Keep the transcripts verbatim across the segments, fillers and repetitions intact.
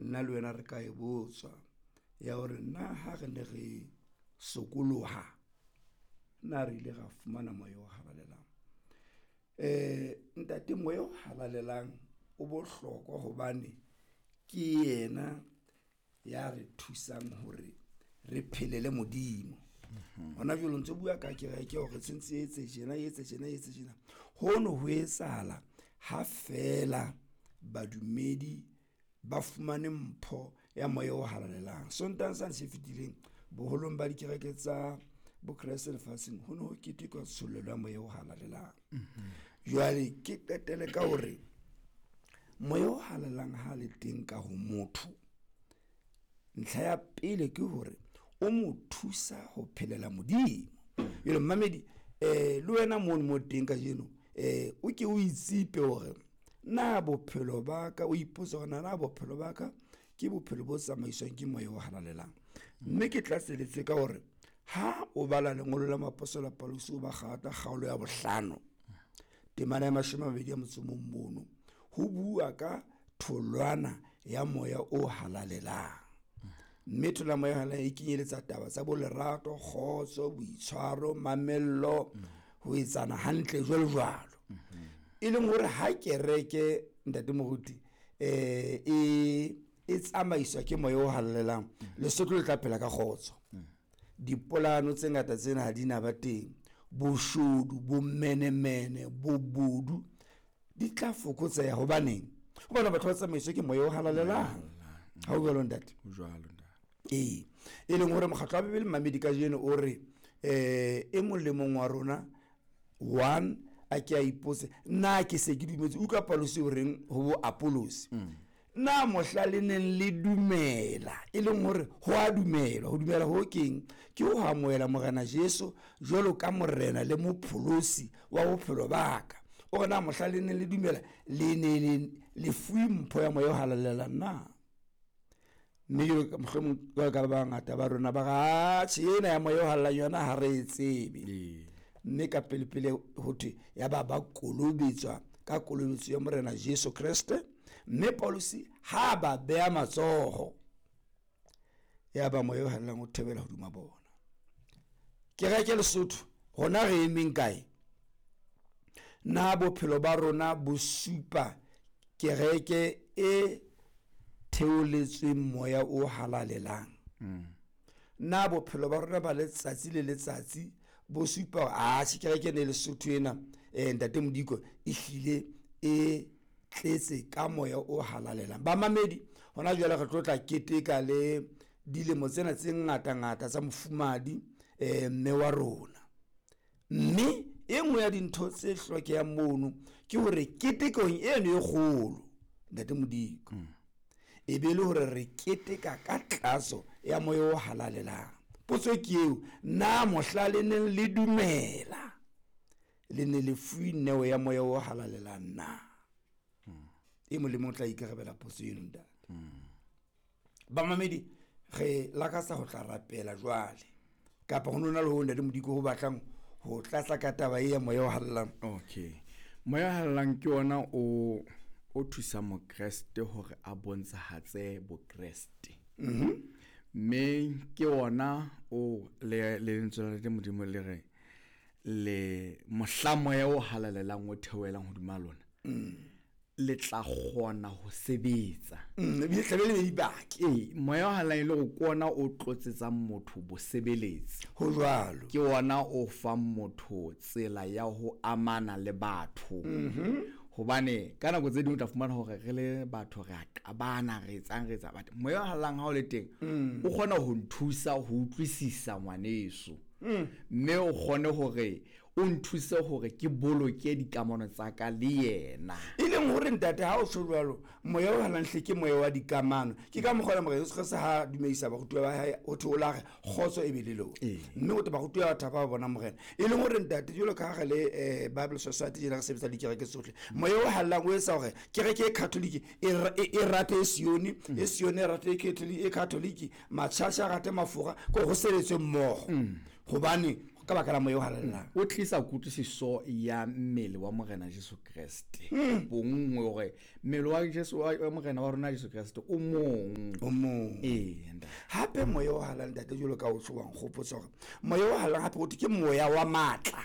Nna le wena re ka e botswa ya hore na ha re ne re sokoloha na re ile ra fumana moya o halalelang. Eh ntate, moya o halalelang o bohlokwa hobane ke yena ya re thusang hore re phelele Modimo. Hona jwale o ntso bua ka kereke hore tshwantse e etse tjena, e etse tjena, e etse tjena. Hono ho etsahala ha feela badumedi ba fumane mpho ya moya o halalelang. Sontaheng sane se fetileng, boholong ba dikereke tsa Bokreste lefatsheng ho ne ho ketekwa tshollelo ya moya o halalelang. Jwale ke qetele ka hore moya o halalelang ha le teng ka ho motho, ntlha ya pele ke hore o mo thusa ho phelela Modimo. Jwale mmamedi, eh le wena mono mo teng kajeno, eh o ke o itsipe hore na bophelo ba ka, o ipotse hore na bophelo ba ka ke bophelo bo tsamaiswang ke moya o halalelang. Mme ke tlatseletse ka hore ha o bala lengolo la moapostola Paulus o ba Galata kgaolo ya bohlano temana ya mashome a mabedi a motso o mong mono, ho bua ka tholwana ya moya o halalelang. Mme tholwana ya moya o halalelang e kenyeletsa taba tsa bo lerato, kgotso, boitshwaro, mamello, ho etsana hantle jwalo jwalo. E leng hore ha kereke ntate moruti eh e e tsamaiswa ke moya o halalelang, Lesotho le tla phela ka kgotso. Dipolano tse ngata tsena ha di na ba teng, boshodu, bomenemene, bobodu di tla fokotseha. Hobaneng? Hobane batho ba tsamaiswa ke moya o halalelang. Ha o jwalo ntate? Ho jwalo ntate. Ee, e leng hore mokgatlo wa Bibele mmamedi kajeno o re eh e mong le mong wa rona one a ke a ipotse, na ke se ke dumetse? Utlwa Paulus o reng ho bo Apollos, na mohla le neng le dumela, e leng hore ho a dumelwa. Ho dumela ho keng? Ke ho amohela Morena Jesu jwalo ka Morena le Mopholosi wa bophelo ba ka. O re na mohla le neng le dumela, le ne le le fuwe mpho ya moya o halalelang na? Mme jwalo ka mohlomong jwalo ka ba bangata ba rona ba re, atjhe, ena ya moya o halalelang yona ha re e tsebe. Mme ka pele pele ho thwe ya ba ba kolobetswa ka kolobetso ya Morena Jesu Kreste. Mme Paulus ha ba beha matsoho, ya ba moya o halalelang o thebela hodima bona. Kereke Lesotho, rona re emeng kae? Na bophelo ba rona bo supa kereke e theoletsweng moya o halalelang? Na bophelo ba rona ba letsatsi le letsatsi bo supa hore atjhe kereke ena e Lesotho ena, eh ntate Modiko, e hlile e tletse ka moya o halalelang? Bamamedi, hona jwale re tlo tla keteka le dilemo tsena tse ngata ngata tsa mofumahadi, eh mme wa rona. Mme e nngwe ya dintho tse hlokehang mono ke hore ketekong eno e kgolo, ntate Modiko, e be le hore re keteka ka tlatso ya moya o halalelang. Potso ke eo, na mohla le neng le dumela le ne le fuwe neo ya moya o halalelang na? E mong le mong o tla ikarabela potso eno, ntate. Bamamedi, re lakatsa ho tla rapela jwale, kapa ho nona le ho ntate Modiko ho batlang ho tlatsa ka taba e ya moya o halalelang? Okay, moya o halalelang ke ona o o thusa mokreste hore a bontshahatse bokreste. Mme ke ona o le lentswe la Modimo le re le mohla moya o halalelang o theohelang hodima lona, le tla kgona ho sebetsa. Mm, ebile tlabe le dibaki. Ee, moya o halalelang e le hore ke ona o tlotsetsang motho bosebeletsi. Ho jwalo. Ke ona o fang motho tsela ya ho amana le batho. Hobane ka nako tse ding o tla fumana hore re le batho re a qabana, re etsang, re etsa, but moya o halalelang ha o le teng, o kgona ho nthusa ho utlwisisa ngwaneso. Mme o kgone hore o nthuse hore ke boloke dikamano tsa ka le yena. E leng hore ntate ha o tjho jwalo, moya o halalelang hle ke moya wa dikamano. Ke ka mokgwa Morena Jesu Kreste ha dumedisa barutuwa ba hae, o thwe o la re kgotso e be le lona. Mme o te barutuwa ba thaba ba bona Morena. E leng hore ntate jwalo ka ha re le, eh, Bible Society jena re sebetsa le dikereke tsohle, moya o halalelang o etsa hore kereke e Catholic e ra-, e, e rate e Sione, e Sione e rate e Catholic, e Catholic, matjhatjha a rate mafura, ko ho sebetswe mmoho. Hobane Ka baka la moya o halalelang. O tlisa kutlwisiso ya mmele wa Morena Jesu Kreste. Bonngwe hore mmele wa Jesu wa Morena wa rona Jesu Kreste o mong. O mong. Ee, ntate. Hape moya o halalelang ntate jwalo ka o tshwang kgopotsa hore moya o halalelang hape o thwe ke moya wa matla.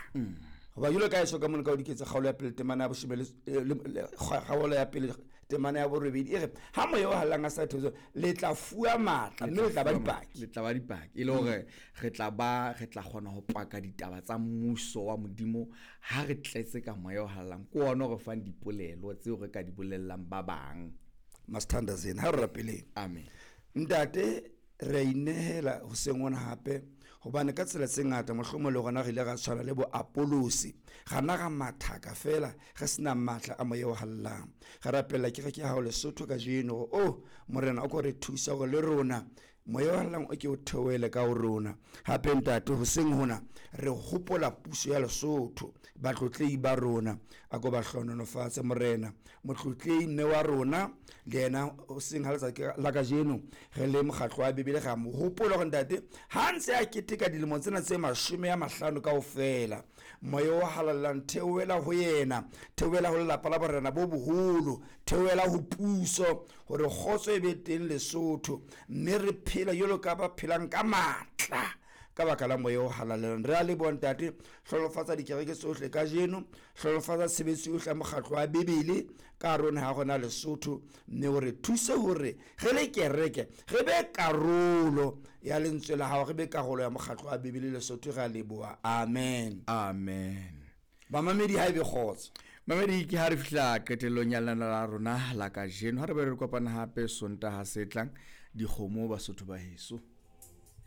Hoba jwalo ka eso ka mona ka o diketse kgaolo ya pele temana ya boshome le kgaolo ya pele temana ya borobedi e re ha moya o halalelang a sa theosa le tla fuwa matla mme le tla ba dipaki. Le tla ba dipaki e le hore re tla ba re tla kgona ho paka ditaba tsa mmuso wa Modimo ha re tletse ka moya o halalelang. Ke ona o re fang dipolelo tseo re ka di bolellang ba bang. Masithandazeni ha re rapeleng. Amen. Ntate re a inehela hoseng hona hape hobane ka tsela tse ngata mohlomong le rona re ile ra tshwana le bo Apollosi ra nna ra mathaka fela re sena matla a moya o halalelang. Re rapella kereke ya hao Lesotho kajeno hore oh Morena o ko re thusa hore le rona moya o halalelang o ke o theohele ka ho rona. Hape ntate hoseng hona re hopola puso ya Lesotho, batlotlehi ba rona a ko ba hlohonolofatse Morena. Motlotlehi mme wa rona le yena hoseng ha letsatsi la kajeno re le mokgatlo wa Bibele ra mo hopola hore ntate ha ntse a keteka dilemo tsena tse mashome a mahlano kaofela, moya o halalelang theohela ho yena, theohela ho lelapa la borena bo boholo, theohela ho puso hore kgotso e be teng Lesotho mme re phela jwalo ka ba phelang ka matla ka baka la moya o halalelang. Re a leboha ntate, hlohonolofatsa dikereke tsohle kajeno, hlohonolofatsa tshebetso yohle ya mokgatlo wa Bibele ka hare ho naha ya rona Lesotho, mme o re thuse hore re le kereke re be karolo ya lentswe la hao, re be karolo ya mokgatlo wa Bibele Lesotho. Re a leboha. Amen. Amen. Bamamedi ha ebe kgotso. Mamedi ke ha re fihla qetellong ya lenaneo la rona la kajeno. Ha re be re kopana hape Sontaha se tlang, dikgomo Basotho ba heso.